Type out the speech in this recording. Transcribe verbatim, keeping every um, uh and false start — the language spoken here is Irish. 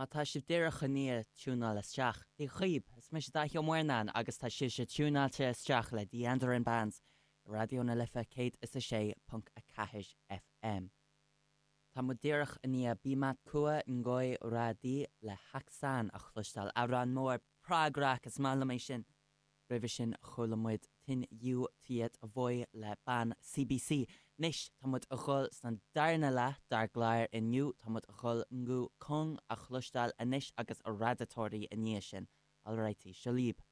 Má tá sibh díreach i ndiaidh tiúnáil isteach, Dia dhaoibh, is mise Daithí Ó Muirneáin agus tá sibhse tiúnáilte isteach le The Andaran Bands, Raidió na Life céad is a sé ponc a ceathair FM. Tá muid díreach i ndiaidh Bi Mat Cua Ngoi Ra Di le Hát Xanh a chloisteáil amhrán mór prog rock is maith liom é sin. Roimhe sin chuala muid Tinh Yêu Tuyệt Vời le ban CBC. Anois tá muid a dhul san darna leath dár gclár inniu tá muid a dhul Ngũ Cương a chloisteáil anois agus a radatóirí i ndiaidh sin. Alrighty, seo libh